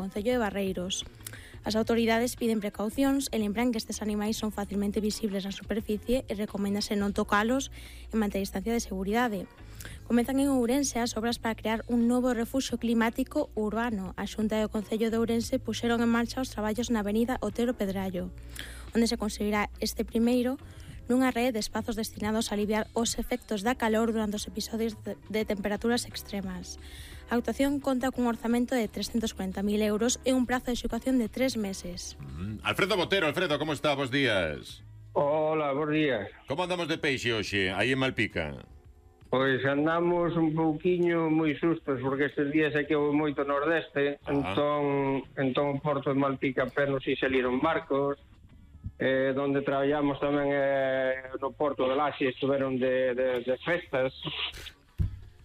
concello de Barreiros. As autoridades piden precaucións e lembran que estes animais son facilmente visibles na superficie e recoméndase non tocalos e manter distancia de seguridade. Comezan en Ourense as obras para crear un novo refuxio climático urbano. A Xunta e o Concello de Ourense puxeron en marcha os traballos na avenida Otero Pedrallo, onde se conseguirá este primeiro nunha rede de espazos destinados a aliviar os efectos da calor durante os episodios de temperaturas extremas. A actuación conta cun orzamento de 340.000 euros e un prazo de execución de 3 meses. Alfredo Botero, Alfredo, como está? Bos días. Hola, bons días. Como andamos de peixe hoxe, aí en Malpica? Pois andamos un pouquiño moi sustos, porque estes días aquí houve moito nordeste, entón o porto de Malpica apenas si saliron barcos, donde traballamos tamén no porto de Laxe, estuveron de festas.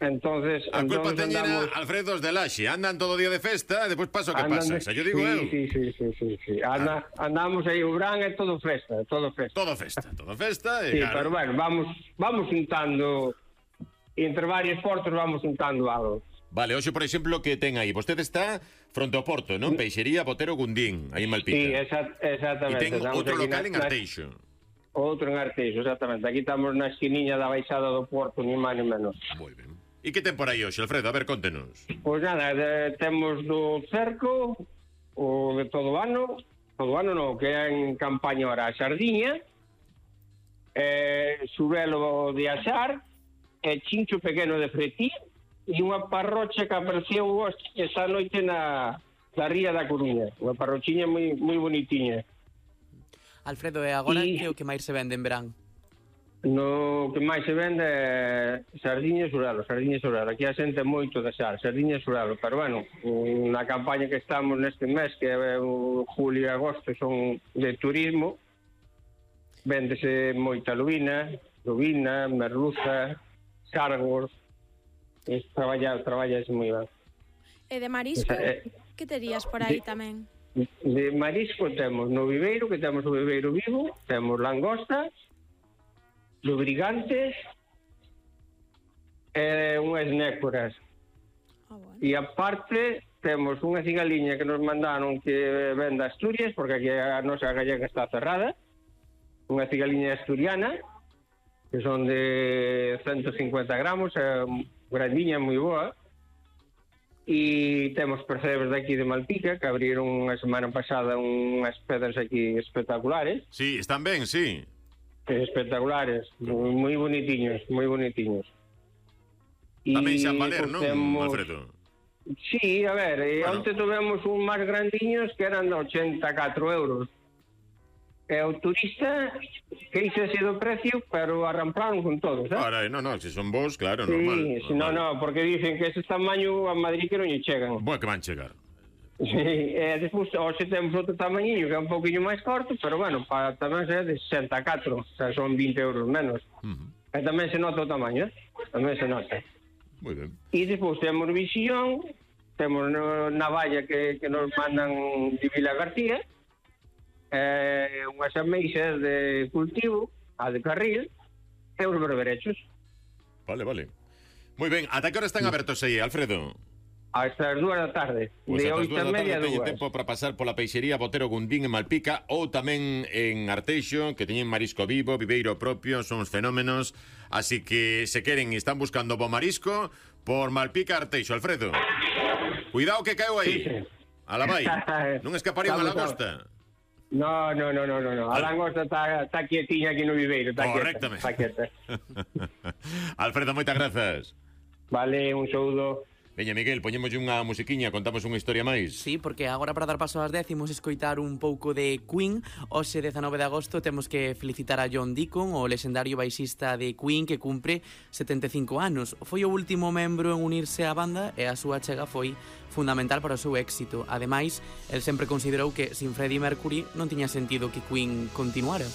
Entonces, a culpa teñen andamos... Alfredos de Laxe, andan todo o día de festa e despois pasa o que pasa, xa yo digo eu. Sí. Andamos aí, o verán é todo festa, todo festa. Todo festa e sí, claro. Pero bueno, vamos juntando, entre varios portos vamos juntando algo. Vale, hoxe, por exemplo, que ten aí? Vostede está fronte ao porto, non? Peixería Botero Gundín, aí en Malpica. Sí, exactamente. E ten outro local en Arteixo. Outro en Arteixo, exactamente. Aquí estamos na esquiniña da baixada do porto, ni máis ni menos. Moi ben. E que ten por aí hoxe, Alfredo? A ver, contenos. Pois nada, temos do cerco, o de todo ano non, que é en campaña ahora a sardiña, xurelo de asar, chincho pequeno de fretí, e unha parrocha que apareceu esta noite na ría da Coruña. Unha parrochiña moi bonitiña. Alfredo, e agora que o que máis se vende en verán? No que máis se vende é sardiña e xurelo. Aquí a xente moito de asar, sardiña e xurelo. Pero bueno, na campaña que estamos neste mes, que é o julio e agosto, son de turismo, véndese moita lubina, merluza, sargos. Traballa moi ben. E de marisco, que terías por aí tamén? De marisco temos no viveiro, que temos o viveiro vivo, temos langosta, lubrigantes e unhas nécoras. Bueno. E aparte temos unha cigaliña que nos mandaron que vende Asturias, porque aquí a nosa gallega está cerrada, unha cigaliña asturiana, que son de 150 gramos, grandiña, moi boa. E temos percebes de aquí de Malpica, que abriron unha semana pasada unhas pedras aquí espectaculares. Sí, están ben, sí. Espectaculares, moi bonitiños. Tamén xa valer, non, Alfredo? Sí, a ver, onte tivemos un máis grandiños que eran de 84 euros. E o turista queixase do precio, pero arramplaron con todos, Ahora, no, se son vos, claro, sí, normal. Sí, no, porque dicen que ese tamaño a Madrid que non lle chegan. Boa que van chegar. Sí, despois, hoxe temos outro tamañinho que é un pouquinho máis corto, pero bueno, para tamén ser de 64, o sea, son 20 euros menos. E tamén se nota o tamaño, tamén se nota. Moi ben. E despois temos visión, temos navalla que nos mandan de Vila García, unhas ameixas de cultivo, a de carril, e os berberechos. Vale. Moi ben, ata que hora están abertos aí, Alfredo? Hasta as 2 da tarde, pues de 8:30 a 2. Teñen tempo para pasar pola peixería Botero Gundín en Malpica ou tamén en Arteixo, que teñen marisco vivo, viveiro propio, son uns fenómenos, así que se queren e están buscando bo marisco por Malpica Arteixo, Alfredo. Cuidado que caeu aí. Sí. Ala vai. Non escaparía unha lagosta. No. A langosta está quietiña aquí no viveiro. Correctamente. Quieta. Alfredo, moitas grazas. Vale, un saúdo. Veña, Miguel, poñemos unha musiquiña, contamos unha historia máis. Sí, porque agora para dar paso ás 10 imos escoitar un pouco de Queen. Hoxe 19 de agosto temos que felicitar a John Deacon, o lexendario baixista de Queen, que cumpre 75 anos. Foi o último membro en unirse á banda e a súa chega foi fundamental para o seu éxito. Ademais, el sempre considerou que sin Freddie Mercury non tiña sentido que Queen continuara.